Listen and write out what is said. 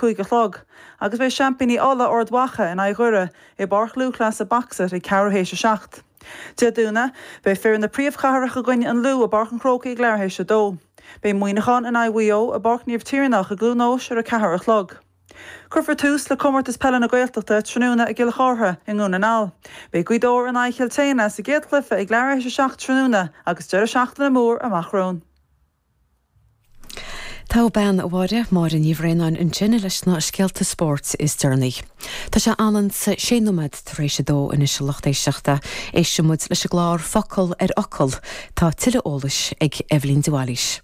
5 a chlog agus beidh seaimpíní Uladh, Ard Mhacha, in aghaidh Dhoire i bPáirc Lúthchleasa Boxit ag ceathrú théis 7. Dé Domhnaigh, beidh fir na príomhchathrach i gcoinne an Lú i bPáirc an Chrócaigh ag leathuair théis 2. Beidh Muineachán in aghaidh Mhaigh Eo i bPáirc Naomh Tiarnach i gCluain Eois ar 4 a chlog. Cuirfear tús le Comórtas Peile na Gaeltachta tráthnóna i gCill Chártha i nDún na nGall. Beidh Gaoth Dobhair in aghaidh Chill tSéadhna sa gcéad chluiche ag leathuair théis 7 tráthnóna agus deireadh seachtaine mór amach romhainn. Togha bean, a Mháire, Máire Ní Bhraonáin ansin leis na scéalta spóirt is deireanaí. Tá sé anonn 's sé nóiméad tar éis a dó anois a lucht éisteachta. Éistfidh muid leis an gclár Focal ar Fhocal. Tá tuilleadh eolais ag Eibhlín de Bhailís.